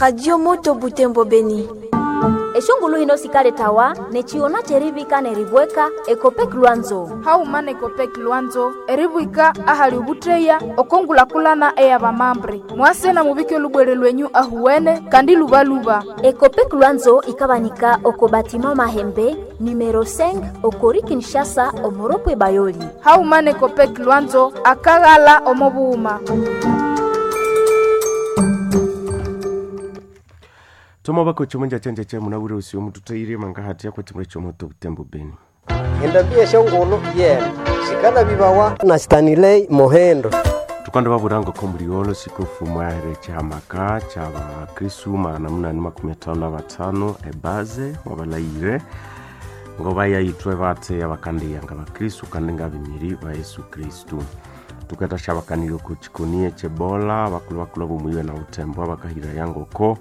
Radio Moto Butembo Beni. Eshongulu hino sikaletawa nechiona cherivika neribweka Ekopek Lwanzo. Hauma nekopek Lwanzo eribwika ahali ubutreya okongulakulana eyabamambre mwase na mubike lubwere lwenyu ahuwene kandi lubaluba. Ekopek Lwanzo ikabanika oko batima Mahembe numero 5 okori Kinshasa omoropwe Bayoli. Hauma nekopek Lwanzo akaghala omobuuma. Toma bako chimunja chanje che munabure usiyo mututaire mangahati yako chimwe chomoto Butembo Beni. Endabia shongolo yena sikala bibawa na Stanley Mohendo. Tukanda baburango ko muliolo sikofu mwahere chahamaka cha bakristu 855 ebaze wabalayire ngoba yaitwe bate abakandiyanga bakristu kandi ngabimiri ba Yesu Kristu. Tukata shabakanire ku chikonie chebola bakulu bakulu bumuyiwe na utembo abakahira yangoko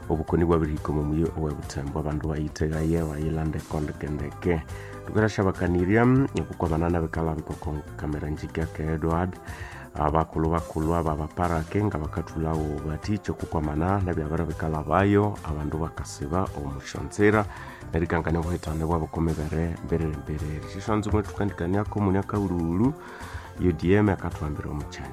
obukoni bwabirihika omu muyi owe butembo abandu bayitegaye bayilande kondekendeke. Tukata shabakanirya okukwabanana bikala bikoko kamera njika ke Edward abakulu bakulu aba baparake nga bakathulawo baticho kukwamana nabyabara bikala bayo abandu bakasiba omushonzera nerikangania obuhitane bwabo komibere mberere mberere. Shishonzo mwe tukandikaniako munyaka ululu UDM akatwambira omuchanya.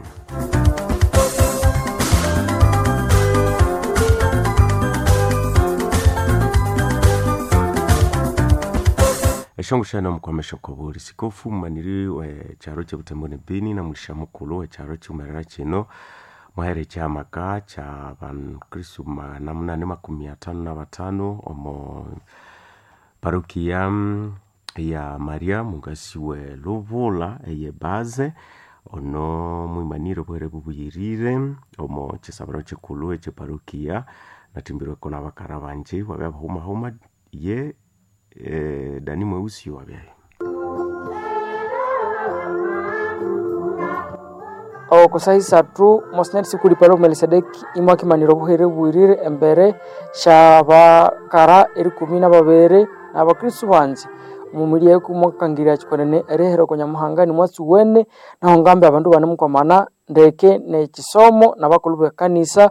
Eshongo mukwamesha kobuli sikofu mumaniri we charo chebutembo ne Beni na mulisha mukulu we charo chiumerera chino mwahere chamaka cha bankristu 855 omo parokia ya Maria mungasi we Lubula eye baze ono mwimaniro bwere bubuyirire omo chisabaro chikulu eche parokia natimbirweko n'abakara banje wabya bahumahuma ye Dani Mweusi wabyaye. Okosahi satu mosinari sikuli palo Melisedeki imwakimanira obuhere bwirire embere shabakara erikumi na babere n'abakristu banji omumiri ekumwakangirya chikonene erihera ko Nyamuhanga nimwatsi wene naho ngambe abandu banemukwamana ndeke nekisomo n'abakulu b'ekanisa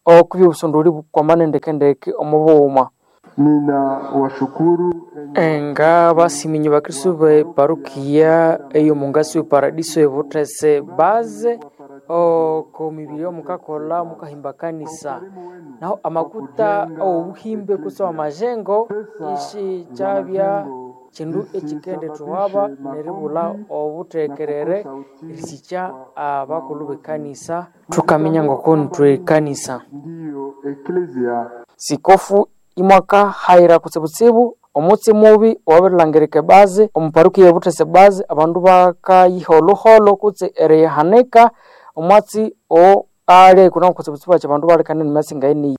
okubya obusondoli bukwamana ndeke ndeke omu bughuma. Nina washukuru enga basiminyi bakristu be parukia eyo mungasi we paradiso ebuthese baze oko mibiri omukakola mukahimba kanisa naho amakuta obuhimbe kusa amajengo ishi kyabya kindu ekikende thuhaba neribulha obuthekerere erisikya abakulu bekanisa thukaminya ngoko nithwe kanisa. Ndiyo eklesia. Sikofu imwaka hayira kutsibutsibu omutsi mubi owabirilhangirika ebaze omuparukiya ebuthese baze abandu bakayiha olhuholho kutse erihanika omwatsi o ali kuna kutsibutsibu akyi abandu balikana nemyatsi ngayeniyi.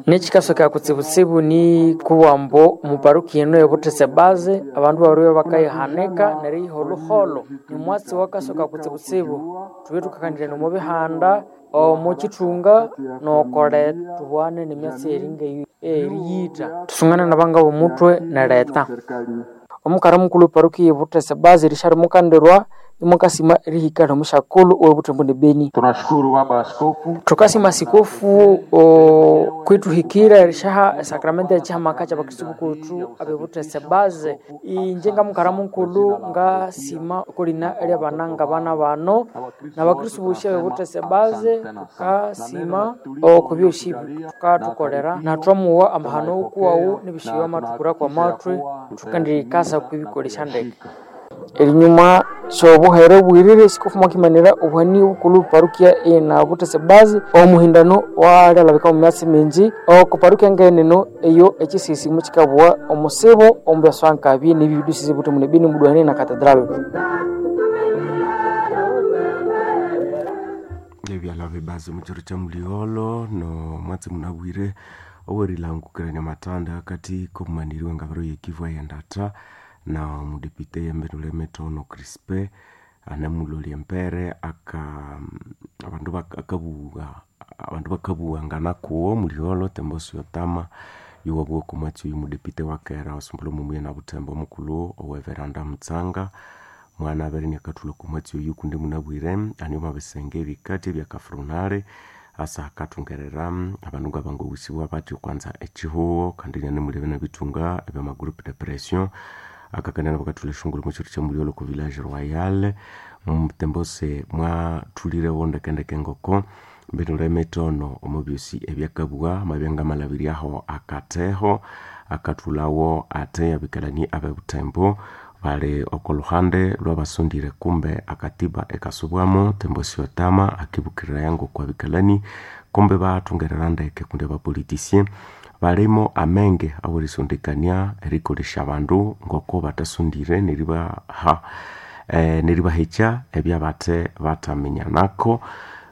Nekikasoka kutsibutsibu ni kubwambu omuparukiya eno ebuthese baze abandu babiribya bakayihanika neriyiha olhuholho nimwatsi wakasoka kutsibutsibu thubye thukakanirana omu bihanda omu kithunga nokole thubwane nemyatsi eringa eriyitha thusungane nabanga bomuthwe neleta. Omukara mukulhu eparukiya ebuthese baze erishali mukandirwa imwakasima erihika nomushakulhu owebuthembo ne Beni. Tunashukuru baba askofu. Thukasima sikofu kwithuhikira erishaha esakramenti echihamaka kyabakristu bukuthu abebuthese baze. Inje ngamukara mukulhu ngasima okolina eryabana ngabana bano nabakristu bosi abebuthese baze thukasima okubyosi thukathukolera nathwamuwa amahano ukuwawu nebishiwa amathukura kwamathwi thukendikasa kwibikolesya ndeke. Erinyuma syobuhere bwirire sikofu mwakimanira obuhani bukulhu parukia ena buthese bazi omuhindano walyalabika omu myatsi mingi oko parukia ngeneno eyo ekisisi mukikabugha omusibo omubyaswankabi nebibidusisi buthemu ne Beni mudwane na katedral. Ebyalha bibazi omukyaro kya Muliolo no mwatsi munabwire owerilangukirania matanda akati komumaniri wengabiro yekivu eyendatha na omudepite yembenule Metono Crispe anemulolya empere aka abandu bakabuwa abandu bakabuwangana kuwo Muliolo Tembosi Otama yuwabugha oko mwatsi oyu mudepite wakera osumbula omumuye na Butembo omukulhu oweveranda Mutsanga mwana abere inakathulha oko mwatsi oyu kundi munabwire anio mabisenge ebikati ebyakafrunale Asa akathungerera abandu ngabangowusibwa batya kwanza echihuo kandi nyanemulebe nabitunga ebyama groupe de pression akakania bakathula eshungulu mukyiro kyamuliolo ku Village Royal mutembose mwathulirewo ndekendeke ngoko mbinule emitono omo byosi ebyakabugha mabyangamalabiryaho akateho akathulawo ate abikalani abebutembo bali oko luhande lwabasondire kumbe akatiba ekasubwamo Tembosi Otama akibukirira ngoko abikalani kumbe bathungerera ndeke kundi abapolitisien balimo amenge awerisondekania erikolesya abandu ngoko batasondire neribaha neribahekya ebyabathe bataminya-nako.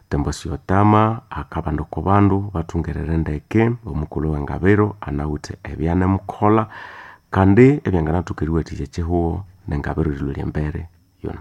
Tembosi Otama akabanda oko bandu bathungerere ndeke omukulhu wengabiro anawithe ebyanemukolha kandi ebyanganathoka eriwathikya ekyihugho nengabiro erilhwa embere yono.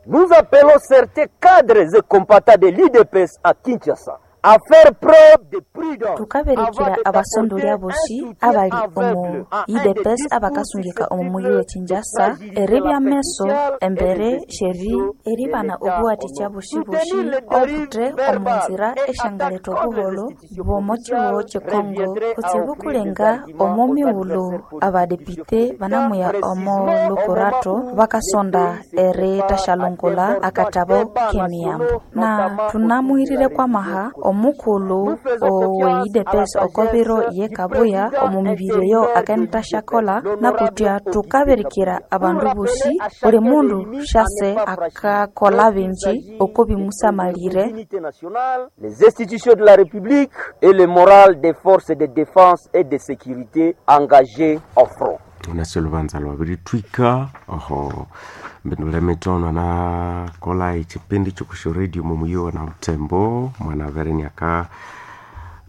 Nous appelons certains cadres et combattants de l'UDPS à Kinshasa à faire preuve de prudence. Thukaberekera abasondolya bosi abali omu UDPS abakasungika omu muyi we Kinshasa eribya meso embere sheri eribana obuwathikya bosi-bosi obuthe omu nzira esyangaletha obuholho bw'omo kihugho kye Congo kutsibu kulenga omo mighulhu abadepite banamuya omo lukurato bakasonda erithasyalongolha akathabo k'emiyambo. Na thunamuhirire kwamaha omukulhu owe UDPS oko biro ye Kabuya omu mibiri eyo akenithasyakolha nakutya thukaberekera abandu bosi buli mundu syase akakolha bingi oko bimusamalire. Les institutions de la République et le moral des forces de défense et de sécurité engagées au front. Unasi olubanza lwabirithwika oho mbindule mitono anakola echipindi kyokusya radio mumuyiwa na butembo mwana avereniaka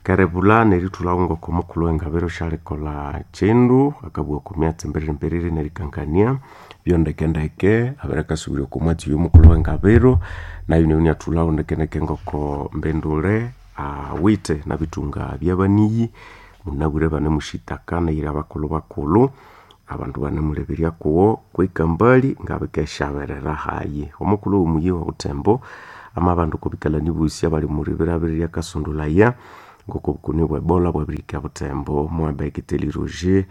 kerebula nerithulhawo ngoko omukulhu wengabiro syalikolha kyindu akabugha oko myatsi mbiriri-mbiriri nerikangania byondekendeke abirekasubirya oko mwatsi oyo omukulhu wengabiro nayo niyo ndekendeke ngoko mbindule awithe nabithunga byabaniyi munabwire banemusyitaka neyiri abakulhu bakulhu abandu banemuleberya kuwo kwika mbali ngabikesyaberera hayi. Omukulhu womuyi wa Butembo amabandu okobikalani bosi abali omuribirabiri lyakasondolaya ngoko obukoni bwa Ebola bwabirihika Butembo. Mwabekiteli Roger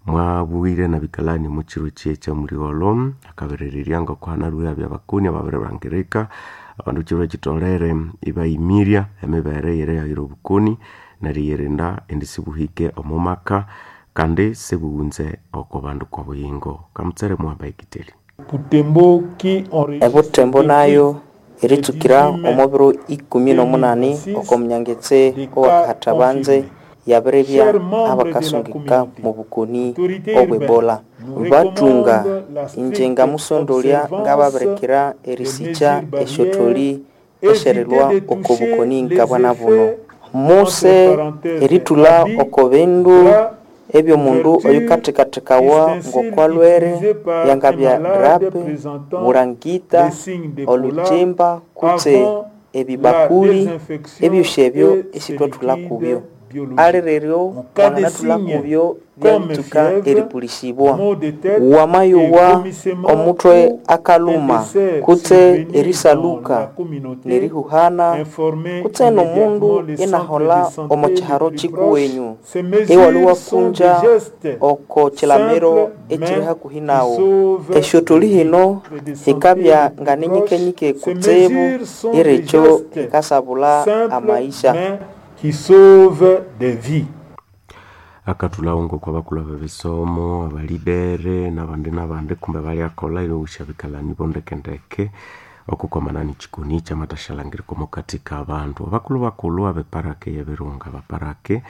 mwabwire nabikalani omukyiro kyekyamuliholo akaberererya ngoko hanalwe habya abakoni ababirilhangirika abandu kyiro kyitolere ibayimirya emibere yerighayira obukoni neriyirinda indi sibuhike omo maka kandi sibughunze oko bandu kobuyingo. Kamutsere mwabekiteli Ebutembo nayo eritsukira omo biro 18 oko munyangetse owakahathabanze yabiribya abakasungika mu bukoni obw'Ebola. Bathunga inje ngamusondolya ngababirikira erisikya esyotholi esyerilwa oko bukoni ngabwana buno. Muse erithulha oko bindu ebyomundu oyukathekathekawa ngokwalwere yangabya drape, bulangita, olhukyimba kutse ebibakuli ebyosi ebyo esithwathulha kubyo. Alireryo wanganathulha kubyo byalitsuka eripulisibwa. Wamayowa omuthwe akalhuma kutse erisaluka nerihuhana kutse nomundu inaholha omo kyiharo kyikuwenyu iwalhwa iwakunja oko kyilamiro ekyiri hakuhi nawu. Esyotholi hino hikabya nganinyikenyike kutsibu irikyo hikasabulha amaisha. Qui sauve des vies. Akathulhawo ngoko abakulhu abebisomo, abalidere nabandi nabandi kumbe balyakolha erighusya abikalani bondekendeke okukwamana nikyikoni kyamathasyalangirirwa omukathi kabandu. Abakulhu bakulhu abeparaka eyebirunga abaparake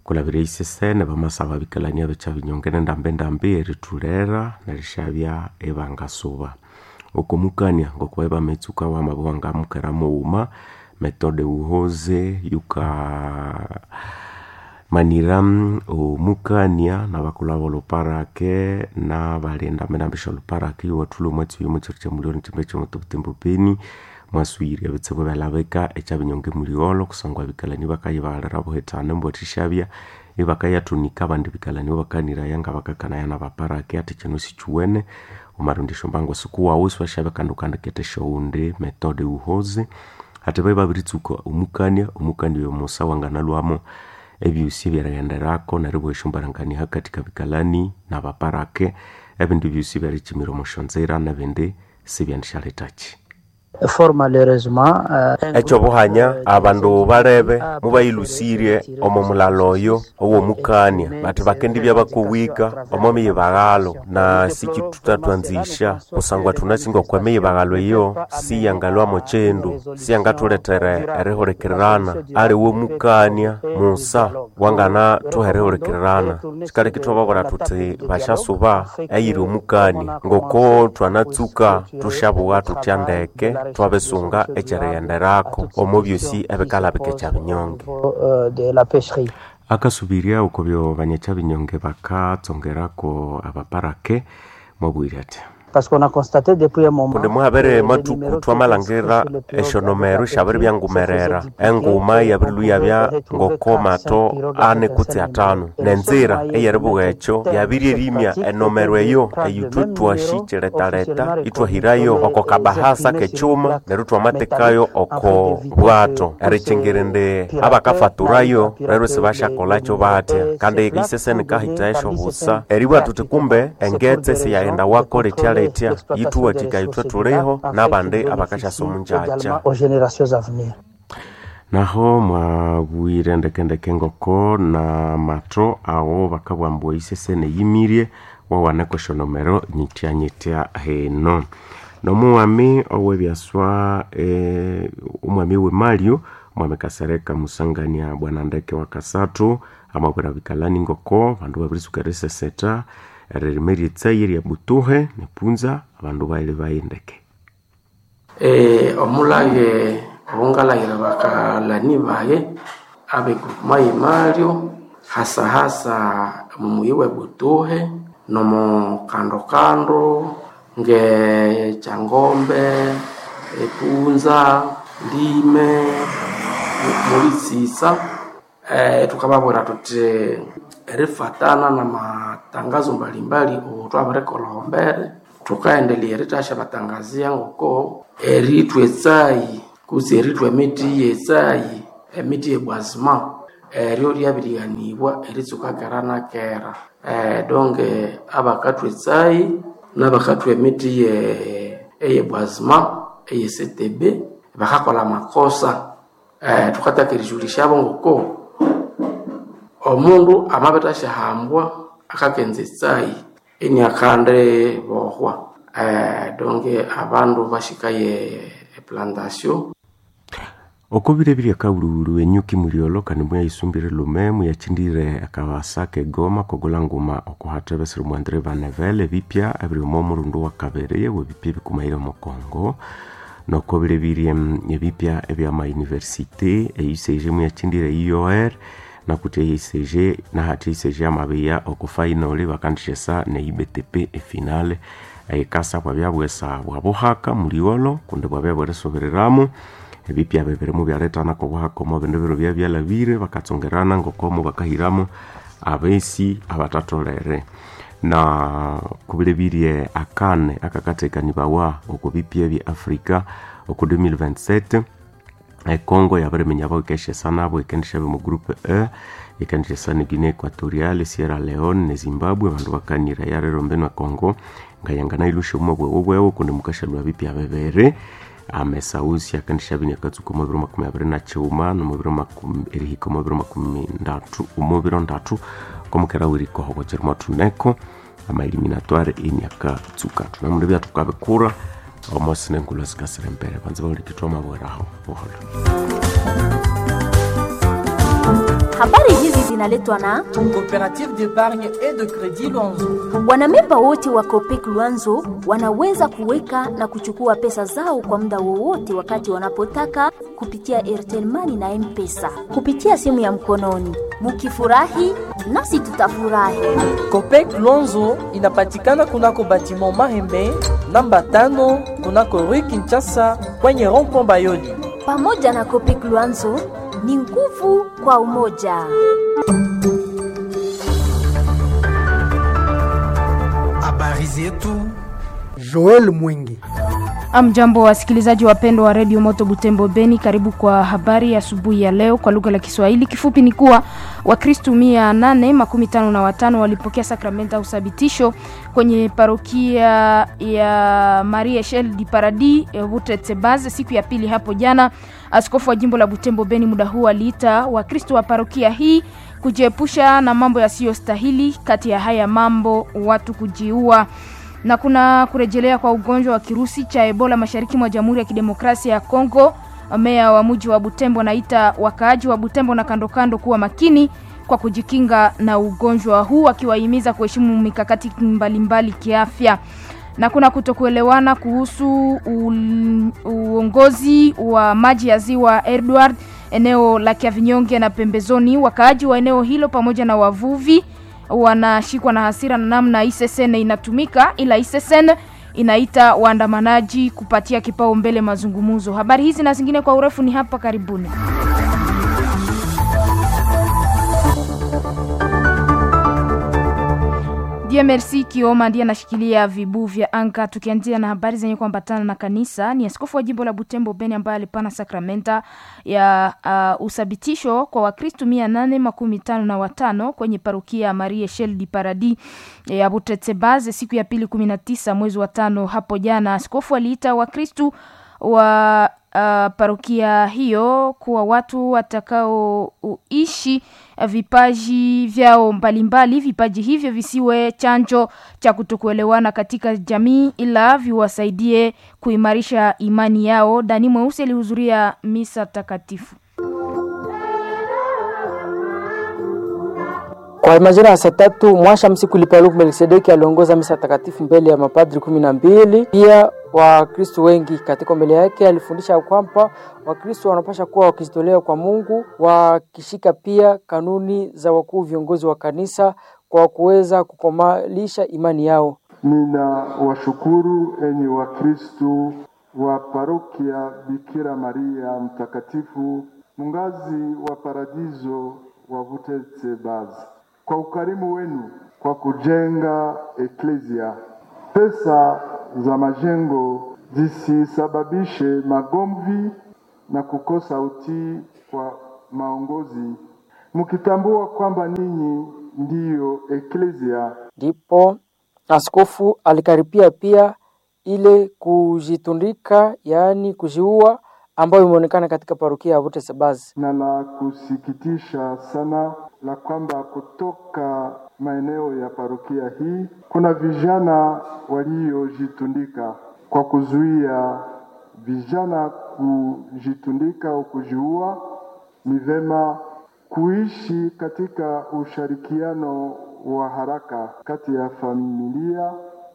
kulabira eisesene bamasaba abikalani abekyabinyonge nendambendambi erithulera nerisyabya ibangasuba. Okomukania ngoko bametsuka wamabugha ngamukera mughuma metode wuhoze yuka manira omukania nabakulhu abolhuparake nabalinda ndambi syolhuparake iwathulha omwatsi oyo omukyiro kyamuliro nikyimbe kyomubutembo beni mwasuyirya ebitsibu ebyalabika ekyabinyonga emuligholo kusangwa abikalani bakayibalira buhithana embwathisyabya ibakayathunika abandi bikalani bakaniraya ngabakakanaya nabaparake athi kino sikyuwene wamarondya esyombango sikuwawu isiwasyabya kandi wukandiketha esyowundi metode wuhoze. Ati baye babiritsuka omukania omukania oyo musa wanganalwamo ebyosi ebyerighenderako neribugha esyombarangania hakati kabikalani nabaparake ebindu byosi byerikyimira omusyonzira nebindi sibyandisyalethaki. Fort malheureusement ekyobuhanya abandu balebe mubayilusirye omo mulalo oyo owomukania bathi bakendibya bakowika omo miyibaghalo na sikithutatwanzisya kusangwa thunasinga okwa miyibaghalo eyo siyangalwamo kyindu siyangathulethere erihulikirirana aliwe mukania musa wanganathuha erihulikirirana kikaleka ithwababwira thuthi basyasuba eyiri omukania ngoko thwanatsuka thushabugha thuthya ndeke twabisunga ekyerighenderako omo byosi ebikalabika ekyabinyonge. De la pêcherie. Akasubirya okubyo banyakyabinyonge bakatsongerako abaparake mwabwire ati Parce qu'on a constaté depuis un moment kundi muhabere mathuku thwamalhangira esyonomero syabiribyangumerera enguma yabirilhuyabya ngokomato ani kutse atano nenzira eyeribugha ekyo yabiryerimiya enomero eyo eyithwe twasyikiletaleta ithwahirayo oko kabahasa kekyuma neryo thwamathekayo oko bwato erikyingira indi abakafaturayo rero sibasyakolakyo batya kandi isese nikahitha esyobusa eribugha thuthi kumbe engetse siyaghenda wako letya yithuwathika ithwe thuliho nabandi abakasyasa omunjakya. Aux générations à venir. Naho mwabwire ndekendeke ngoko na matho awo bakabugha ambu isesene yimirye wawaneko esyonomero nyitya-nyitya heno. Nomughami owebyaswa omwami wemalyo Mwami Kasereka Musangania bwana ndeke wa kasathu amabwira bikalani ngoko bandu babirisuka erisesetha eririma eryetsayi erya butuhe nepunza abandu baile bayindeke. Omulage obungalhaghira bakalani baye abegrupuma yemalyo hasahasa omumuyi webutuhe nomukandokando nge Kyangombe, epunza, Lime, Mulitsitsa. Thukababwira thuthi erifatana namatangazo mbalimbali othwabirikolha embere thukaendelea erithasyabatangazia ngoko erithwa etsayi kutse erithwa emithi yetsayi emiti yebwazima eryo lyabirighanibwa eritsuka kera na kera. Donge abakathwa etsayi nabakathwa emiti eyebwazima eye CTB bakakolha amakosa. Thukathaka erijulisyabo ngoko omundu amabithasyahambwa akakenza etsayi iniakandi bohwa. Donge abandu bashikaye eplantation. Okubire biryakabulubulu enyuki mulyolo kandi muyayisumbire lume muyakyindire akabasa kegoma kogola nguma okuhathebesera omu Andre Van ebipya ebiri omo murundu wakabiri webipya ebikumaire omu Congo. Nokobire birye ebipya ebyama university eUCG muyakyindire IOR nakuthi eUCG nahathi eUCG amabiya oku final bakandishesa ne IBTP efinale ekasa bwabyabwesa bwabuhaka mulyolo kundi bwabya bwerisubiriramo ebipya bibiri mubyaletana kobuhaka omo bindu biro byabyalabire bakatsongerana ngokomo bakahiramo abesi abatatolere. Na kubilebirye akane akakatekanibawa oku bipya bya Afrika oku 2027 Congo yabiriminya bawikeshesa nabo ikendishabe mu groupe E ikendishesa ne Guinea Equatorial, Sierra Leone ne Zimbabwe abandu bakanira yarero mbenu e Congo ngayangana ilusha omo bwewo bwewo kundi mukashalwa bipya bibiri amesausi akendisha binyakatsuka omu biro 29 nomu biro erihika omu biro 30 omu biro 3 komukera wirikoho kyerimo thuneko amaeliminatoire eniakatsuka thunamundu byathukabikura omosi nengulwa sikasira embere banza baulikithwa mabweraho buholo. Habari hizi zinaletwa na Coopérative d'épargne et de crédit Luanzo. Wanamemba wote wa Copec Luanzo wanaweza kuweka na kuchukua pesa zao kwa muda wowote wakati wanapotaka kupitia Airtel Money na M-Pesa kupitia simu ya mkononi. Mukifurahi nasi tutafurahi. Copec Luanzo inapatikana kunako batiment Mahembe namba 5 kunako Rue Kinshasa kwenye rond-point Bayoli. Pamoja na Copec Luanzo ni nguvu kwa umoja. Habari zetu Joel Mwingi. Amjambo, wasikilizaji wapendwa wa redio Moto Butembo Beni, karibu kwa habari asubuhi ya leo kwa lugha la Kiswahili. Kifupi ni kuwa Wakristu 855 walipokea sakramenta ya uthabitisho kwenye parokia ya Marie Echelle du Paradis Butetsebaze siku ya pili hapo jana. Askofu wa jimbo la Butembo Beni muda huu aliita Wakristu wa parokia hii kujiepusha na mambo yasiyostahili. Kati ya haya mambo watu kujiua na kuna kurejelea kwa ugonjwa wa kirusi cha Ebola mashariki mwa Jamhuri ya Kidemokrasia ya Kongo. Meya wa mji wa Butembo anaita wakaaji wa Butembo na kando kando kuwa makini kwa kujikinga na ugonjwa huu, akiwahimiza kuheshimu mikakati mbalimbali kiafya. Na kuna kutokuelewana kuhusu uongozi wa maji ya ziwa Edward eneo la Kiavinyonge na pembezoni. Wakaaji wa eneo hilo pamoja na wavuvi wanashikwa na hasira na namna ISSN inatumika, ila ISSN inaita waandamanaji kupatia kipaumbele mazungumzo. Habari hizi na zingine kwa urefu ni hapa karibuni. Merci Kioma ndiye anashikilia vibu vya anga. Tukianzia na habari zenye kuambatana na kanisa, ni askofu wa jimbo la Butembo Beni ambaye alipana sakramenta ya uthabitisho kwa Wakristu 855 kwenye parokia Marie Echelle du Paradis ya Butetsebaze siku ya pili 19 mwezi wa tano hapo jana. Askofu aliita Wakristu wa parokia hiyo kuwa watu watakaoishi vipaji vyao mbalimbali. Vipaji hivyo visiwe chanjo cha kutokuelewana katika jamii, ila viwasaidie kuimarisha imani yao. Dani Mweusi alihudhuria misa takatifu. Kwa majira ya saa tatu mwasha msiku Lipaluku Melkisedeki aliongoza misa takatifu mbele ya mapadri 12 pia Wakristo wengi. Katika mbele yake alifundisha kwamba Wakristo wanapasha kuwa wakijitolea kwa Mungu, wakishika pia kanuni za wakuu viongozi wa kanisa kwa kuweza kukomalisha imani yao. Nina washukuru enyi Wakristo wa parokia Bikira Maria Mtakatifu mungazi wa paradiso wa Butetsebazi kwa ukarimu wenu kwa kujenga eklezia. Pesa za majengo zisisababishe magomvi na kukosa utii kwa maongozi, mkitambua kwamba ninyi ndiyo eklezia. Ndipo askofu alikaripia pia ile kujitundika, yaani kujiua, ambayo imeonekana katika parokia ya Butetsebazi. Na la kusikitisha sana la kwamba kutoka maeneo ya parokia hii kuna vijana waliojitundika. Kwa kuzuia vijana kujitundika au kujiua, ni vema kuishi katika ushirikiano wa haraka kati ya familia,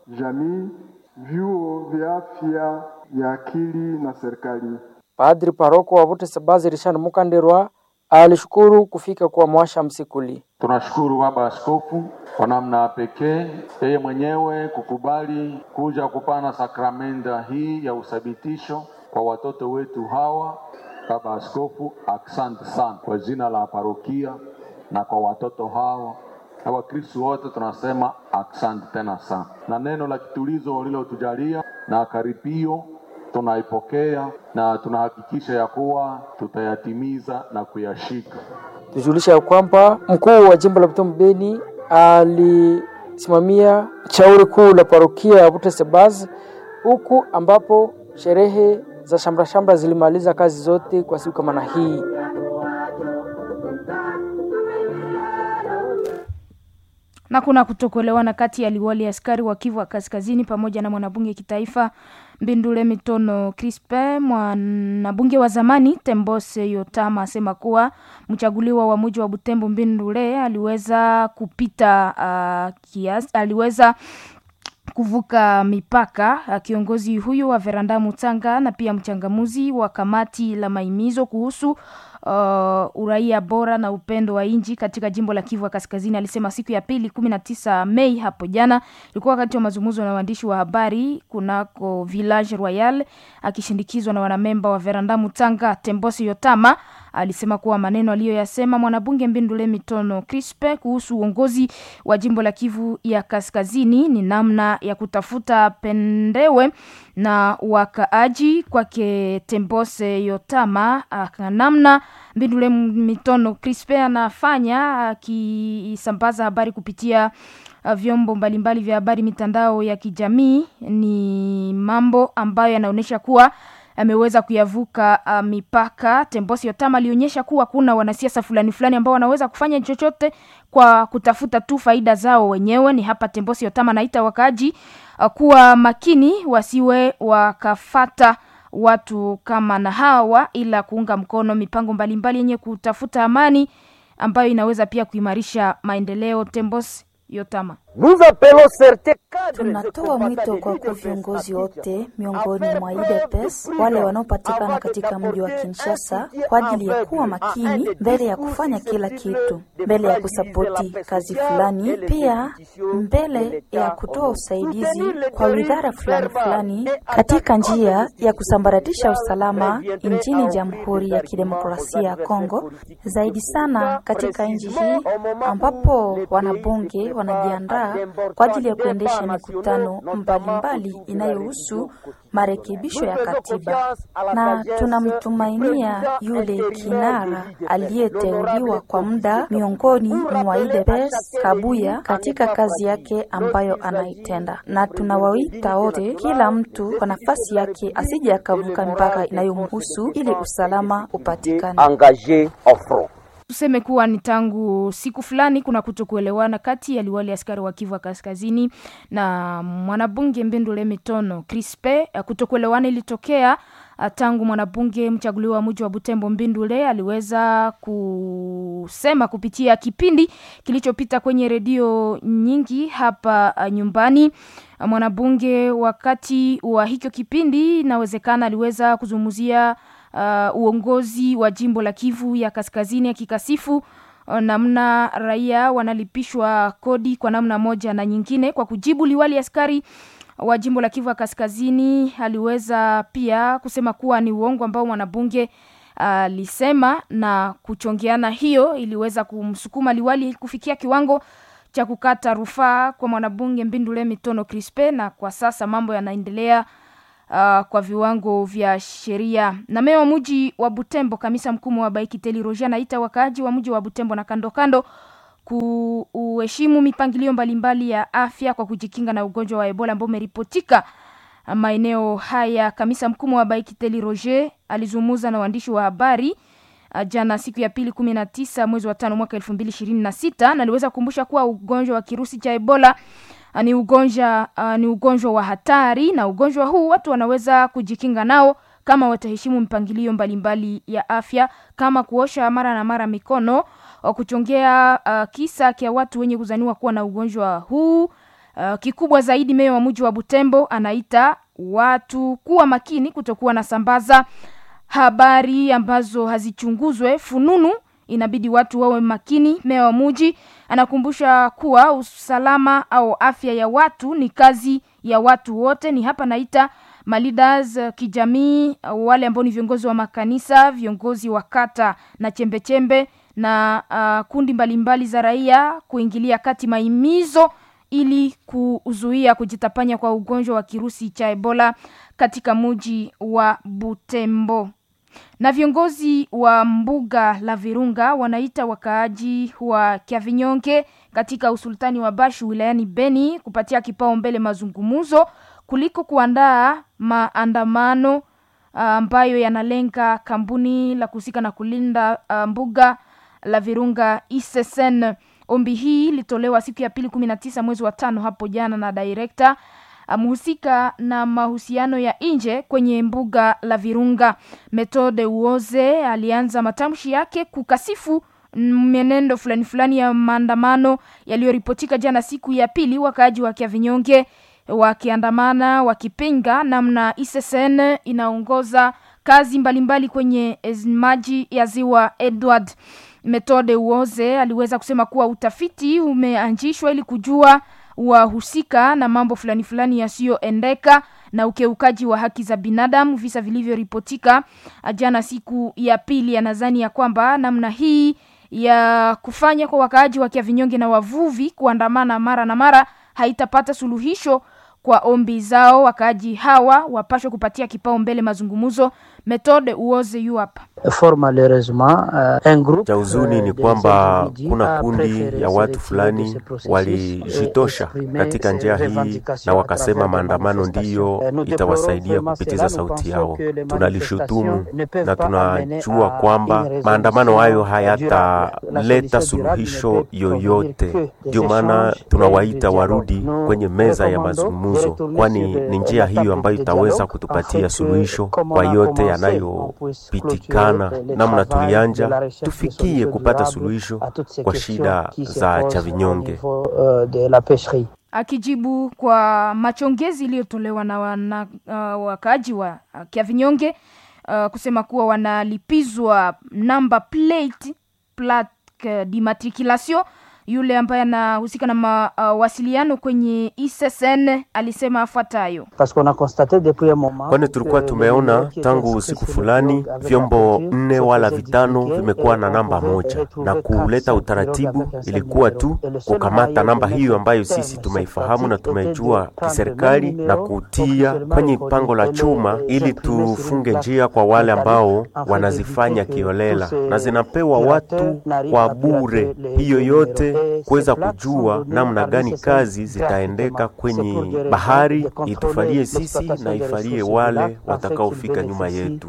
jamii, vyuo vya afya ya akili na serikali. Padri paroko wa Butetsebazi Richard Mukanderwa alishukuru kufika kwa mwasha msikuli. Tunashukuru Baba Askofu kwa namna pekee yeye mwenyewe kukubali kuja kupana sakramenta hii ya uthabitisho kwa watoto wetu hawa. Baba Askofu, asante sana kwa jina la parokia na kwa watoto hawa na Wakristo wote tunasema asante tena sana, na neno la kitulizo lilotujalia na karipio tunaipokea na tunahakikisha ya kuwa tutayatimiza na kuyashika. Tujulisha ya kwamba mkuu wa jimbo la Butembo Beni alisimamia shauri kuu la parokia ya Butetsebazi, huku ambapo sherehe za shamra shamra zilimaliza kazi zote kwa siku kama na hii. Na kuna kutokuelewana kati ya liwali askari wa Kivu wa Kaskazini pamoja na mwanabunge kitaifa Mbindule Mitono Crispe. Mwanabunge wa zamani Tembose Yotama asema kuwa mchaguliwa wa mji wa Butembo Mbindule aliweza kupita kiasi, aliweza kuvuka mipaka. Kiongozi huyu wa Veranda Mutanga na pia mchangamuzi wa kamati la maimizo kuhusu uraia bora na upendo wa inji katika jimbo la Kivu ya Kaskazini alisema siku ya pili 19 Mei hapo jana, ilikuwa wakati wa mazungumzo na waandishi wa habari kunako Village Royal, akishindikizwa na wanamemba wa Veranda Mutanga. Tembosi Yotama Alisema kuwa maneno aliyoyasema mwanabunge Mbindule Mitono Crispe kuhusu uongozi wa jimbo la Kivu ya Kaskazini ni namna ya kutafuta pendewe na wakaaji. Kwake Tembose Yotama, namna Mbindule Mitono Crispe anafanya akisambaza habari kupitia vyombo mbalimbali vya habari, mitandao ya kijamii, ni mambo ambayo yanaonyesha kuwa ameweza kuyavuka mipaka. Tembosi Yotama alionyesha kuwa kuna wanasiasa fulani fulani ambao wanaweza kufanya chochote kwa kutafuta tu faida zao wenyewe. Ni hapa Tembosi Yotama anaita wakaaji kuwa makini, wasiwe wakafata watu kama na hawa, ila kuunga mkono mipango mbalimbali yenye kutafuta amani ambayo inaweza pia kuimarisha maendeleo. Tembosi Yotama. Tunatoa mwito kwa wakuu viongozi wote miongoni mwa UDPS wale wanaopatikana katika mji wa Kinshasa kwa ajili ya kuwa makini mbele ya kufanya kila kitu, mbele ya kusapoti kazi fulani, pia mbele ya kutoa usaidizi kwa widhara fulani fulani katika njia ya kusambaratisha usalama nchini Jamhuri ya Kidemokrasia ya Kongo, zaidi sana katika nchi hii ambapo wanabunge wanajiandaa kwa ajili ya kuendesha mikutano mbalimbali inayohusu marekebisho ya katiba, na tunamtumainia yule kinara aliyeteuliwa kwa muda miongoni mwa UDPS Kabuya katika kazi yake ambayo anaitenda, na tunawaita wote, kila mtu kwa nafasi yake, asije akavuka mipaka inayomhusu ili usalama upatikane. Tuseme kuwa ni tangu siku fulani kuna kutokuelewana kati ya liwali askari wa Kivu Kaskazini na mwanabunge Mbindule Mitono Crispe. Kutokuelewana ilitokea tangu mwanabunge mchaguliwa wa mji wa Butembo Mbindule aliweza kusema kupitia kipindi kilichopita kwenye redio nyingi hapa nyumbani. Mwanabunge wakati wa hicho kipindi inawezekana aliweza kuzungumzia uongozi wa jimbo la Kivu ya Kaskazini akikasifu namna raia wanalipishwa kodi kwa namna moja na nyingine. Kwa kujibu, liwali askari wa jimbo la Kivu ya Kaskazini aliweza pia kusema kuwa ni uongo ambao mwanabunge alisema, na kuchongeana hiyo iliweza kumsukuma liwali kufikia kiwango cha kukata rufaa kwa mwanabunge Mbindule Mitono Crispe, na kwa sasa mambo yanaendelea kwa viwango vya sheria. Na meya wa mji wa Butembo Kamisa Mkumu wa Baikiteli Roger anaita wakaaji wa mji wa Butembo na kando kando kuheshimu mipangilio mbalimbali ya afya kwa kujikinga na ugonjwa wa Ebola ambao umeripotika maeneo haya. Kamisa Mkumu wa Baikiteli Roger alizungumza na waandishi wa habari jana siku ya pili 19 mwezi wa 5 mwaka 2026 na aliweza kukumbusha kuwa ugonjwa wa kirusi cha Ebola ni ugonjwa wa hatari, na ugonjwa huu watu wanaweza kujikinga nao kama wataheshimu mpangilio mbalimbali ya afya kama kuosha mara na mara mikono, kuchongea kisa kia watu wenye kuzaniwa kuwa na ugonjwa huu. Kikubwa zaidi, meya wa mji wa Butembo anaita watu kuwa makini kutokuwa na sambaza habari ambazo hazichunguzwe fununu. Inabidi watu wawe makini. Meya wa mji anakumbusha kuwa usalama au afya ya watu ni kazi ya watu wote. Ni hapa naita maleaders kijamii, wale ambao ni viongozi wa makanisa, viongozi wa kata na chembechembe na kundi mbalimbali za raia kuingilia kati mahimizo ili kuzuia kujitapanya kwa ugonjwa wa kirusi cha Ebola katika mji wa Butembo. Na viongozi wa mbuga la Virunga wanaita wakaaji wa Kyavinyonge katika usultani wa Bashu wilayani Beni kupatia kipaumbele mazungumzo kuliko kuandaa maandamano ambayo yanalenga kampuni la kuhusika na kulinda mbuga la Virunga ISSN. Ombi hii ilitolewa siku ya pili 19 mwezi wa 5 hapo jana na director mhusika na mahusiano ya nje kwenye mbuga la Virunga Methode Uoze alianza matamshi yake kukasifu mienendo fulani fulani ya maandamano yaliyoripotika jana siku ya pili, wakaaji wa Kyavinyonge wakiandamana wakipinga namna ISSN inaongoza kazi mbalimbali kwenye maji ya ziwa Edward. Methode Uoze aliweza kusema kuwa utafiti umeanzishwa ili kujua wahusika na mambo fulani fulani yasiyoendeka, na ukiukaji wa haki za binadamu, visa vilivyoripotika jana siku ya pili. Anadhani ya kwamba namna hii ya kufanya kwa wakaaji wa Kiavinyonge na wavuvi kuandamana mara na mara haitapata suluhisho kwa ombi zao. Wakaaji hawa wapashwe kupatia kipaumbele mazungumzo. Methode Uoze yu hapa. Fort malheureusement, un groupe Cha huzuni ni kwamba kuna kundi ya watu fulani walijitosha katika njia hii na wakasema maandamano ndiyo itawasaidia kupitiza sauti yao. Tunalishutumu na tunajua kwamba maandamano hayo hayataleta suluhisho yoyote. Ndio maana tunawaita warudi kwenye meza ya mazungumzo, kwani ni njia hiyo ambayo itaweza kutupatia suluhisho kwa yote yanayopitikana. Namna tulianja tufikie kupata suluhisho kwa shida za Chavinyonge. Akijibu kwa machongezi iliyotolewa na wana, wakaaji wa Kiavinyonge kusema kuwa wanalipizwa number plate plaque d'immatriculation. Yule ambaye anahusika na mawasiliano kwenye ISSN alisema afuatayo: kwani tulikuwa tumeona tangu siku fulani vyombo 4 wala 5 vimekuwa na namba moja, na kuleta utaratibu ilikuwa tu kukamata namba hiyo ambayo sisi tumeifahamu na tumeijua kiserikali na kutia kwenye pango la chuma, ili tufunge njia kwa wale ambao wanazifanya kiolela, na zinapewa watu kwa bure. Hiyo yote kuweza kujua namna gani kazi zitaendeka kwenye bahari, itufalie sisi na ifalie wale watakaofika nyuma yetu.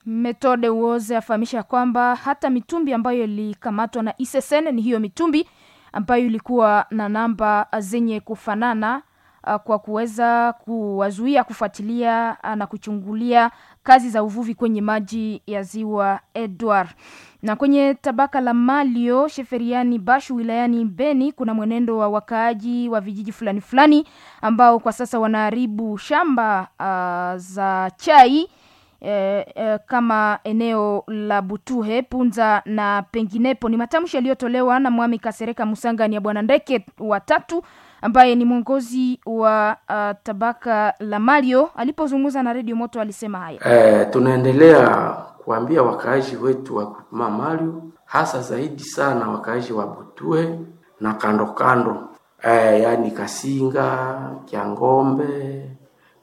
Methode Uoze afahamisha kwamba hata mitumbi ambayo ilikamatwa na ISSN ni hiyo mitumbi ambayo ilikuwa na namba zenye kufanana kwa kuweza kuwazuia kufuatilia na kuchungulia kazi za uvuvi kwenye maji ya ziwa Edward. Na kwenye tabaka la Malio Sheferiani Bashu wilayani Beni kuna mwenendo wa wakaaji wa vijiji fulani fulani ambao kwa sasa wanaharibu shamba za chai kama eneo la Butuhe, Punza na penginepo. Ni matamshi yaliyotolewa na Mwami Kasereka Musanga ni ya Bwana Ndeke watatu ambaye ni mwongozi wa tabaka la Malio. Alipozungumza na Radio Moto alisema haya. Tunaendelea kuambia wakaaji wetu wa groupement Malio, hasa zaidi sana wakaaji wa Butuhe na kando kando, yaani Kasinga, Kyangombe,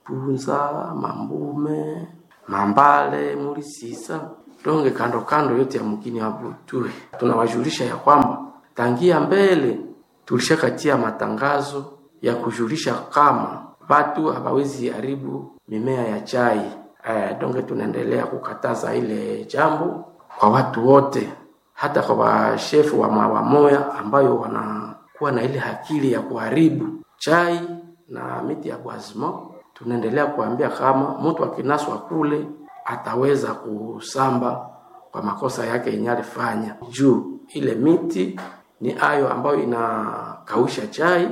Punza, Mambume, Mambale, Mulisisa, donge kando kando yote ya mkini wa Butuhe. Tunawajulisha ya kwamba tangia mbele tulishakatia matangazo ya kujulisha kama watu hawawezi haribu mimea ya chai. Donge tunaendelea kukataza ile jambo kwa watu wote, hata kwa washefu wa mawamoya ambayo wanakuwa na ile akili ya kuharibu chai na miti ya boisement. Tunaendelea kuambia kama mtu akinaswa kule ataweza kusamba kwa makosa yake yenye alifanya, juu ile miti ni ayo ambayo inakausha chai.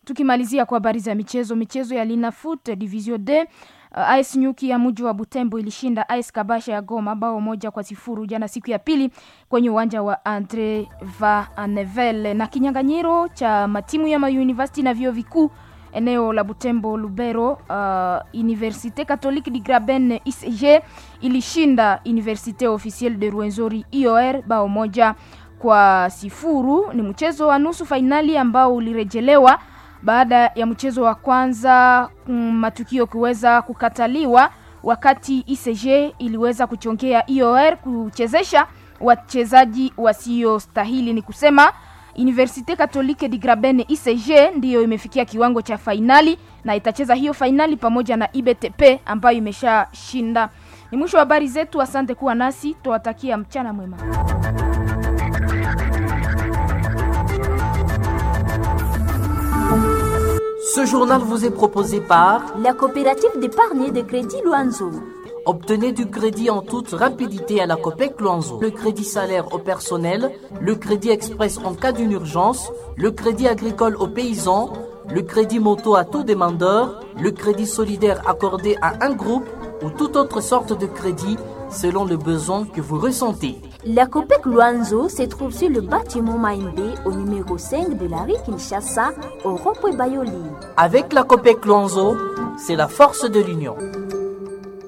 Tukimalizia kwa habari za michezo, michezo ya Linafoot Division D, AS Nyuki ya mji wa Butembo ilishinda AS Kabasha ya Goma bao 1-0 jana siku ya pili kwenye uwanja wa Andre Vanevel. Na kinyang'anyiro cha matimu ya mauniversity na vyuo vikuu eneo la Butembo Lubero, Université Catholique du Graben ICG ilishinda Université Officielle de Rwenzori IOR bao 1-0. Ni mchezo wa nusu fainali ambao ulirejelewa baada ya mchezo wa kwanza matukio kuweza kukataliwa, wakati ICG iliweza kuchongea IOR kuchezesha wachezaji wasiostahili. Ni kusema Université Catholique du Graben ICG ndiyo imefikia kiwango cha fainali na itacheza hiyo fainali pamoja na IBTP ambayo imeshashinda. Ni mwisho wa habari zetu. Asante kuwa nasi, tuwatakia mchana mwema. Ce journal vous est proposé par la coopérative d'épargne et de crédit Luanzo. Obtenez du crédit en toute rapidité à la COPEC Luanzo. Le crédit salaire au personnel, le crédit express en cas d'une urgence, le crédit agricole aux paysans, le crédit moto à tout demandeur, le crédit solidaire accordé à un groupe ou toute autre sorte de crédit. selon le besoin que vous ressentez. La COPEC Luanzo se trouve sur le bâtiment Maïmbé au numéro 5 de la rue Kinshasa, au rond-point Bayoli. Avec la COPEC Luanzo, c'est la force de l'union.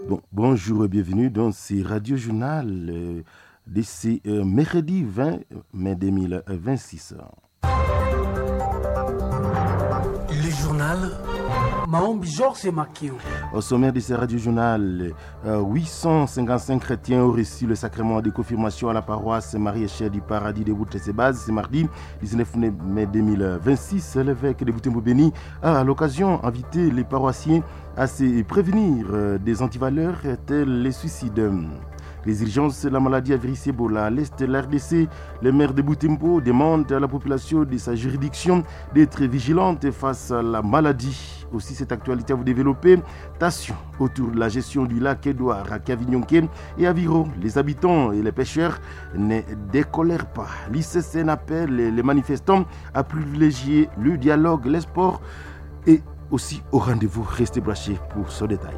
Bon, bonjour et bienvenue dans ce Radio Journal de ce mercredi 20 mai 2026. Le journal Maombi Georges Makio. Au sommaire de ce radio journal, 855 chrétiens ont reçu le sacrement de confirmation à la paroisse Marie-Échelle du Paradis de Boutessébaz ce mardi 19 mai 2026. L'évêque de Butembo-Béni a à l'occasion invité les paroissiens à se prévenir des antivaleurs telles les suicides. Les urgences de la maladie à virus Ebola à l'est de la RDC, le maire de Butembo demande à la population de sa juridiction d'être vigilante face à la maladie. Aussi, cette actualité à vous développer. Tension autour de la gestion du lac Édouard à Kavignonké et à Viro. Les habitants et les pêcheurs ne décolèrent pas. L'ICCN appelle les manifestants à privilégier le dialogue, les sports et aussi au rendez-vous. Restez branchés pour ce détail.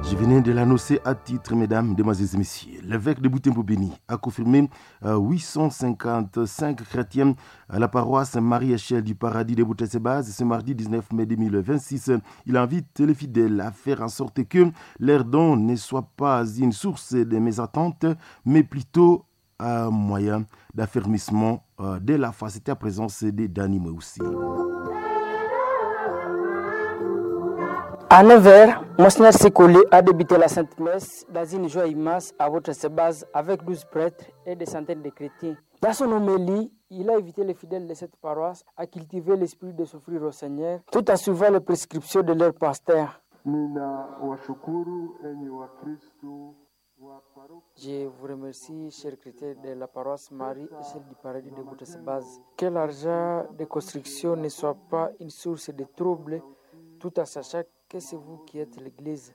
Je venais de l'annoncer à titre, mesdames, mesdemoiselles et messieurs. L'évêque de Butembo-Béni a confirmé 855 chrétiens à la paroisse Marie-Échelle du Paradis de Boutessébaz ce mardi 19 mai 2026. Il invite les fidèles à faire en sorte que leur don ne soit pas une source de mésentente, mais plutôt un moyen d'affermissement de la foi. C'était à présence de Dani aussi. À 9h, Monseigneur Sekoulé a débuté la Sainte Messe dans une joie immense à votre base avec 12 prêtres et des centaines de chrétiens. Dans son homélie, il a invité les fidèles de cette paroisse à cultiver l'esprit de s'offrir au Seigneur tout en suivant les prescriptions de leur pasteur. Je vous remercie, chers chrétiens de la paroisse Marie et celle du Paradis de Boutessebase. Que l'argent de construction ne soit pas une source de troubles, tout en sachant que c'est vous qui êtes l'Église.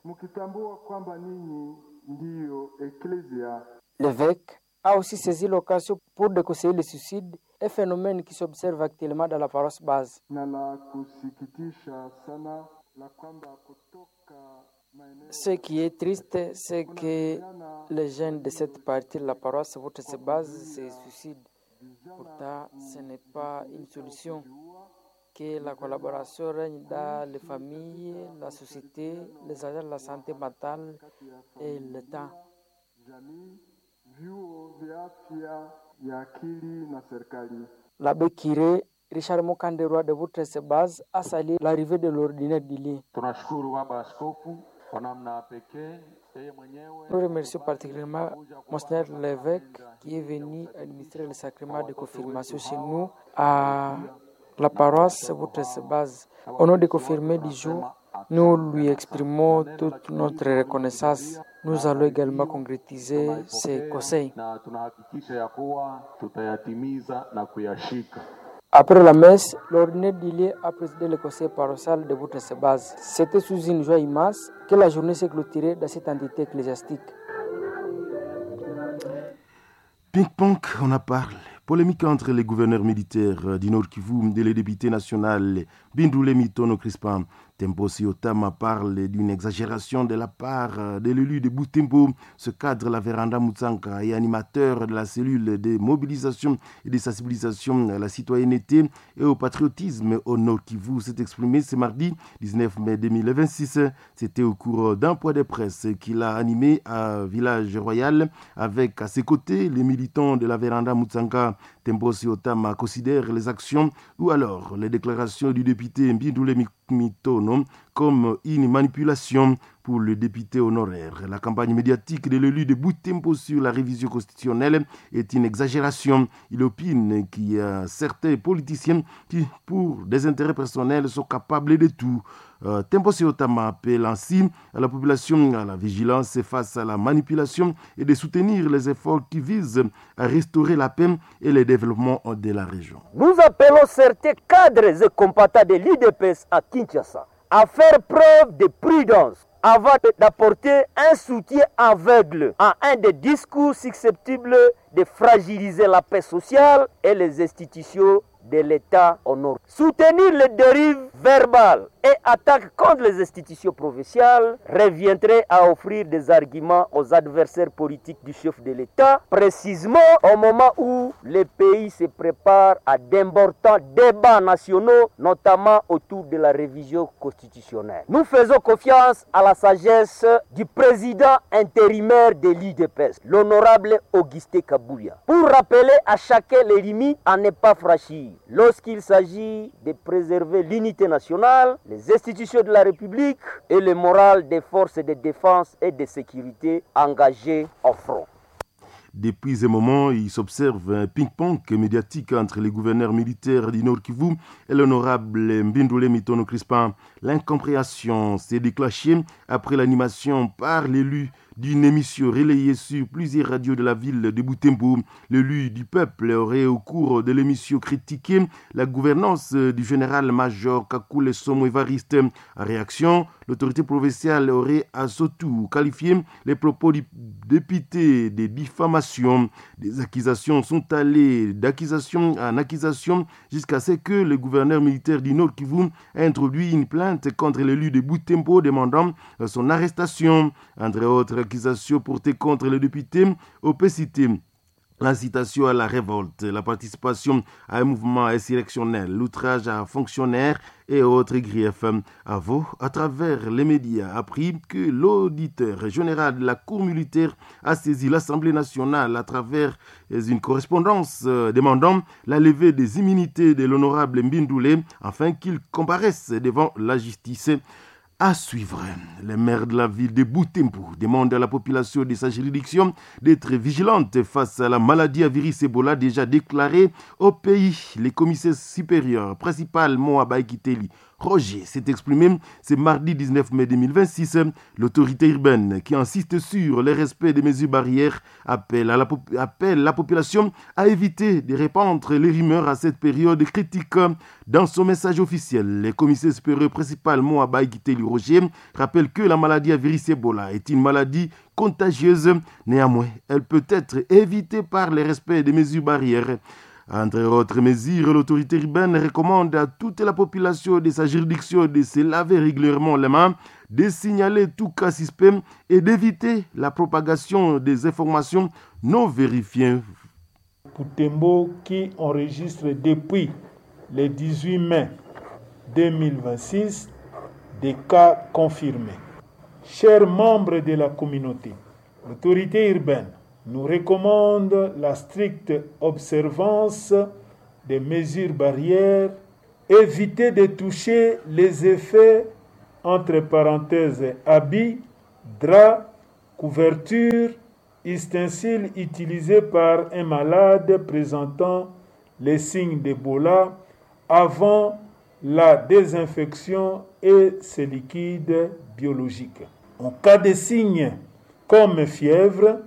L'évêque a aussi saisi l'occasion pour déconseiller le suicide, un phénomène qui s'observe actuellement dans la paroisse base. Ce qui est triste, c'est que les jeunes de cette partie de la paroisse, votre base, se suicident. Pourtant, ce n'est pas une solution. Que la collaboration règne dans les familles, la société, les agents de la santé mentale et l'État. L'abbé Kiré, Richard Mukanderwa de votre base, a salué l'arrivée de l'ordinaire du lieu. Nous remercions particulièrement Monseigneur l'évêque qui est venu administrer le sacrement de confirmation chez nous à la paroisse Base. Au nom des confirmés du jour, nous lui exprimons toute notre reconnaissance. Nous allons également concrétiser ces conseils. Après la messe, l'ordinaire du lieu a présidé le conseil paroissial de Boutresse-Base. C'était sous une joie immense que la journée s'est clôturée dans cette entité ecclésiastique. Ping-pong, on en parle. Polémique entre les gouverneurs militaires du Nord Kivu et les députés nationaux Bindoule Mitono Crispin. Tempo Siotama parle d'une exagération de la part de l'élu de Butembo. Ce cadre, la Véranda Mutsanka, est animateur de la cellule de mobilisation et de sensibilisation à la citoyenneté et au patriotisme au Nord Kivu, s'est exprimé ce mardi 19 mai 2026. C'était au cours d'un point de presse qu'il a animé à Village Royal avec à ses côtés les militants de la Véranda Mutsanka. Tempo Siotama considère les actions ou alors les déclarations du député Mbindoule Mitono comme une manipulation pour le député honoraire. La campagne médiatique de l'élu de Butembo sur la révision constitutionnelle est une exagération. Il opine qu'il y a certains politiciens qui, pour des intérêts personnels, sont capables de tout. Tempo Siotama appelle ainsi à la population à la vigilance face à la manipulation et de soutenir les efforts qui visent à restaurer la paix et le développement de la région. Nous appelons certains cadres et combattants de l'UDPS à Kinshasa à faire preuve de prudence avant d'apporter un soutien aveugle à un des discours susceptibles de fragiliser la paix sociale et les institutions de l'État au nord. Soutenir les dérives verbales et attaques contre les institutions provinciales reviendrait à offrir des arguments aux adversaires politiques du chef de l'État, précisément au moment où le pays se prépare à d'importants débats nationaux, notamment autour de la révision constitutionnelle. Nous faisons confiance à la sagesse du président intérimaire de l'UDPS, l'honorable Augustin Kabouya, pour rappeler à chacun les limites à ne pas franchir lorsqu'il s'agit de préserver l'unité nationale, les institutions de la République et le moral des forces de défense et de sécurité engagées au front. Depuis un moment, il s'observe un ping-pong médiatique entre les gouverneurs militaires du Nord Kivu et l'honorable Mbindoulé Mitono Crispin. L'incompréhension s'est déclenchée après l'animation par l'élu d'une émission relayée sur plusieurs radios de la ville de Butembo. L'élu du peuple aurait au cours de l'émission critiqué la gouvernance du général-major Kakule Somo Évariste. En réaction, l'autorité provinciale aurait à son tour qualifié les propos du député de diffamation. Des accusations sont allées d'accusation en accusation jusqu'à ce que le gouverneur militaire du Nord Kivu ait introduit une plainte contre l'élu de Butembo demandant son arrestation. Entre autres accusations portées contre le député, on peut citer l'incitation à la révolte, la participation à un mouvement insurrectionnel, l'outrage à un fonctionnaire et autres griefs. Avo, à travers les médias, appris que l'auditeur général de la Cour militaire a saisi l'Assemblée nationale à travers une correspondance demandant la levée des immunités de l'honorable Mbindoulé afin qu'il comparaisse devant la justice. À suivre, le maire de la ville de Butembo demande à la population de sa juridiction d'être vigilante face à la maladie à virus Ebola déjà déclarée au pays. Les commissaires supérieurs, principalement à Baïkiteli, Roger, s'est exprimé ce mardi 19 mai 2026. L'autorité urbaine qui insiste sur le respect des mesures barrières appelle la population à éviter de répandre les rumeurs à cette période critique. Dans son message officiel, le commissaire supérieur principalement à Baïkiteli Roger rappelle que la maladie à virus Ebola est une maladie contagieuse. Néanmoins, elle peut être évitée par le respect des mesures barrières. Entre autres mesures, l'autorité urbaine recommande à toute la population de sa juridiction de se laver régulièrement les mains, de signaler tout cas suspect et d'éviter la propagation des informations non vérifiées. Butembo qui enregistre depuis le 18 mai 2026 des cas confirmés. Chers membres de la communauté, l'autorité urbaine nous recommande la stricte observance des mesures barrières, éviter de toucher les effets, entre parenthèses, habits, draps, couvertures, ustensiles utilisés par un malade présentant les signes d'Ebola avant la désinfection et ses liquides biologiques. En cas de signes comme fièvre,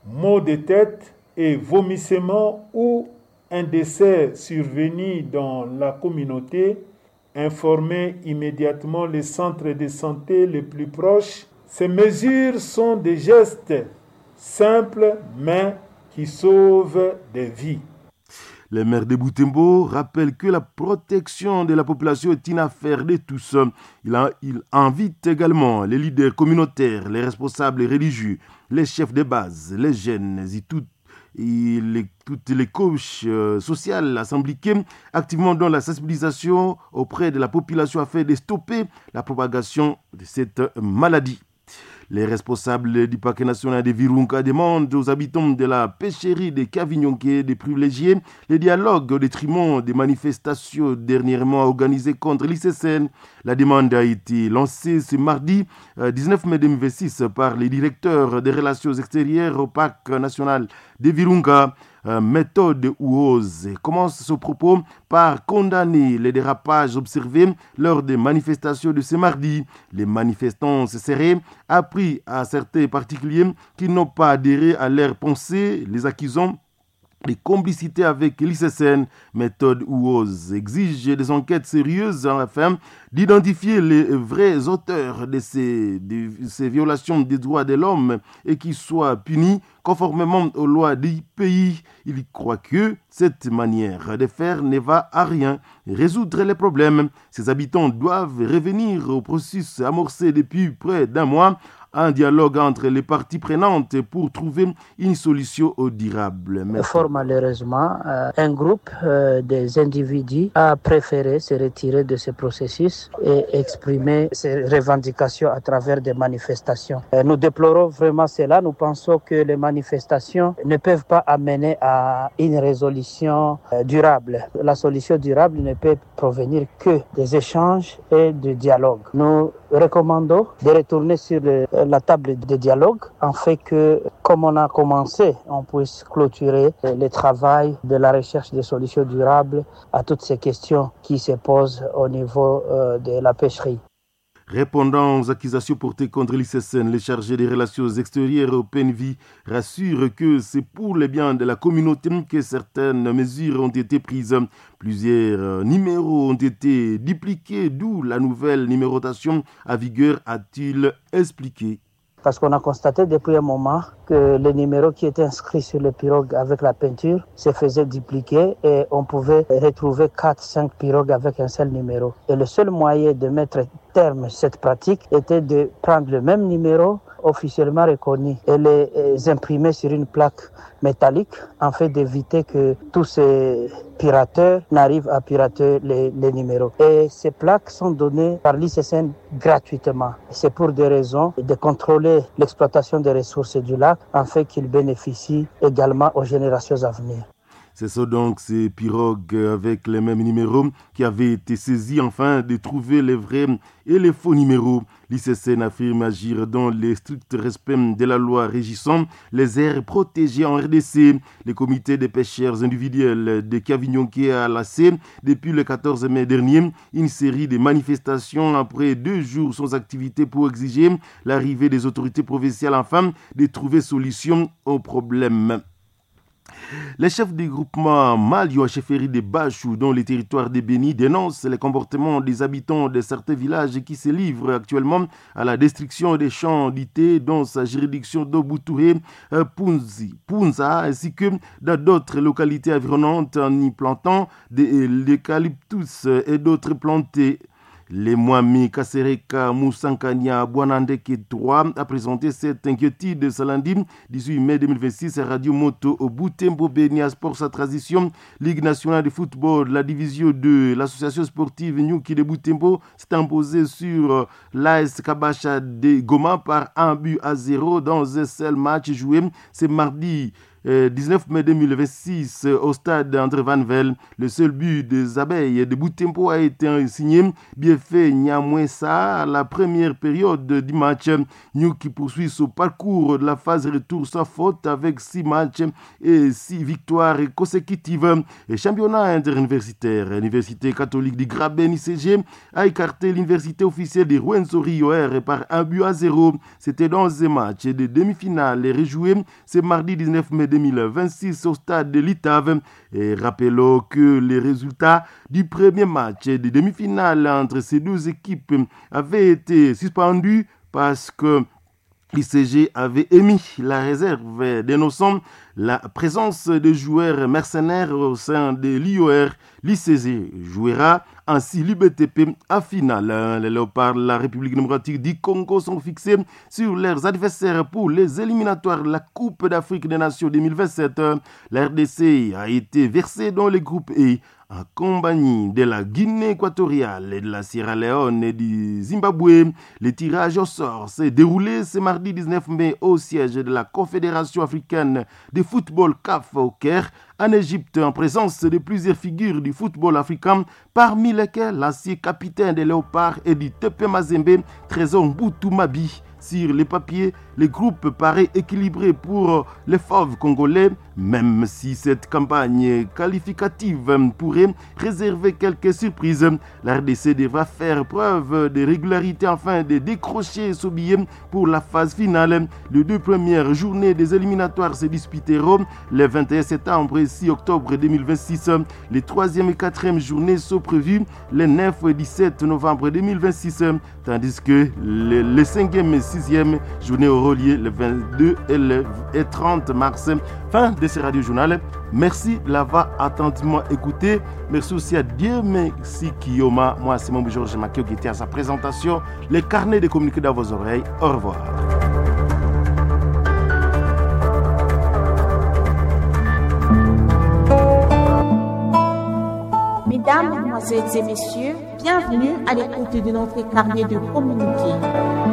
maux de tête et vomissement ou un décès survenu dans la communauté, informer immédiatement les centres de santé les plus proches. Ces mesures sont des gestes simples mais qui sauvent des vies. Le maire de Butembo rappelle que la protection de la population est une affaire de tous. Il invite également les leaders communautaires, les responsables religieux, les chefs de base, les jeunes et toutes les couches sociales à s'impliquer activement dans la sensibilisation auprès de la population afin de stopper la propagation de cette maladie. Les responsables du parc national de Virunga demandent aux habitants de la pêcherie de Kavignonké de privilégier les dialogues au détriment des manifestations dernièrement organisées contre l'ICCN. La demande a été lancée ce mardi 19 mai 2026 par les directeurs des relations extérieures au parc national de Virunga. Méthode Ouose commence ce propos par condamner les dérapages observés lors des manifestations de ce mardi. Les manifestants se seraient appris à certains particuliers qui n'ont pas adhéré à leur pensée, les accusant De complicité avec l'ICCN, méthode UOS exige des enquêtes sérieuses afin d'identifier les vrais auteurs de ces violations des droits de l'homme et qu'ils soient punis conformément aux lois du pays. Il croit que cette manière de faire ne va à rien résoudre les problèmes. Ses habitants doivent revenir au processus amorcé depuis près d'un mois, un dialogue entre les parties prenantes pour trouver une solution durable. Merci. Fort malheureusement, un groupe des individus a préféré se retirer de ce processus et exprimer ses revendications à travers des manifestations. Nous déplorons vraiment cela. Nous pensons que les manifestations ne peuvent pas amener à une résolution durable. La solution durable ne peut provenir que des échanges et du dialogue. Nous recommandons de retourner sur la table de dialogue, afin que, comme on a commencé, on puisse clôturer le travail de la recherche de solutions durables à toutes ces questions qui se posent au niveau de la pêcherie. Répondant aux accusations portées contre l'ICCN, les chargés des relations extérieures au PNV rassurent que c'est pour le bien de la communauté que certaines mesures ont été prises. Plusieurs numéros ont été dupliqués, d'où la nouvelle numérotation à vigueur, a-t-il expliqué. Parce qu'on a constaté depuis un moment que le numéro qui était inscrit sur le pirogue avec la peinture se faisait dupliquer et on pouvait retrouver 4, 5 pirogues avec un seul numéro. Et le seul moyen de mettre terme à cette pratique était de prendre le même numéro officiellement reconnu et les imprimer sur une plaque métallique afin d'éviter que tous ces pirateurs n'arrivent à pirater les numéros. Et ces plaques sont données par l'ICCN gratuitement. C'est pour des raisons de contrôler l'exploitation des ressources du lac afin qu'ils bénéficient également aux générations à venir. C'est ça donc, ces pirogues avec les mêmes numéros qui avaient été saisies afin de trouver les vrais et les faux numéros. L'ICCN affirme agir dans le strict respect de la loi régissant les aires protégées en RDC. Le comité des pêcheurs individuels de Kavignonké a lancé depuis le 14 mai dernier une série de manifestations après 2 jours sans activité pour exiger l'arrivée des autorités provinciales afin de trouver solution au problème. Les chefs du groupement Malio à chefferie de Bachou dans les territoires de Béni dénoncent les comportements des habitants de certains villages qui se livrent actuellement à la destruction des champs d'ité dans sa juridiction d'Oboutouré, Punza, ainsi que dans d'autres localités environnantes en y plantant des eucalyptus et d'autres plantés. Les Mwami Kasereka Moussankania Bwanandeke 3 a présenté cette inquiétude ce lundi 18 mai 2026 à Radio Moto au Butembo Benia Sport sa transition Ligue nationale de football, la division 2, l'association sportive Nyuki de Butembo s'est imposée sur l'AS Kabasha de Goma par 1-0 dans un seul match joué ce mardi 19 mai 2026 au stade André Van Vel. Le seul but des abeilles de Butembo a été signé Bienfait Nyamwesa à la première période du match. Nyuki poursuit son parcours de la phase retour sans faute avec 6 matchs et 6 victoires consécutives. Et championnat interuniversitaire, l'université catholique du Graben ICG a écarté l'université officielle de Rwenzori OR par 1-0. C'était dans un match de demi-finale et rejoué ce mardi 19 mai 2026 au stade de l'Itave. Et rappelons que les résultats du premier match de demi-finale entre ces deux équipes avaient été suspendus parce que l'ICG avait émis la réserve dénonçant la présence de joueurs mercenaires au sein de l'IOR. L'ICG jouera ainsi l'UBTP à finale. Les Léopards de la République démocratique du Congo sont fixés sur leurs adversaires pour les éliminatoires de la Coupe d'Afrique des Nations 2027. La RDC a été versée dans le groupe E en compagnie de la Guinée équatoriale et de la Sierra Leone et du Zimbabwe. Le tirage au sort s'est déroulé ce mardi 19 mai au siège de la Confédération africaine de football CAF au Caire, en Égypte, en présence de plusieurs figures du football africain, parmi lesquelles l'ancien capitaine des Léopards et du TP Mazembe, Trésor Mbutu Mabi. Sur les papiers, le groupe paraît équilibré pour les fauves congolais, même si cette campagne qualificative pourrait réserver quelques surprises. La RDC devra faire preuve de régularité afin de décrocher ce billet pour la phase finale. Les deux premières journées des éliminatoires se disputeront le 21 septembre et 6 octobre 2026. Les troisième et quatrième journées sont prévues les 9 et 17 novembre 2026, tandis que les cinquième et sixième journées auront lieu le 22 et le 30 mars. Fin de ce radio journal. Merci de l'avoir attentivement écouté. Merci aussi à Dieu merci Kiyoma. Moi, c'est mon Georges Makio qui était à sa présentation. Les carnets de communiqués dans vos oreilles. Au revoir. Mesdames, Mesdemoiselles et Messieurs, bienvenue à l'écoute de notre carnet de communiqués.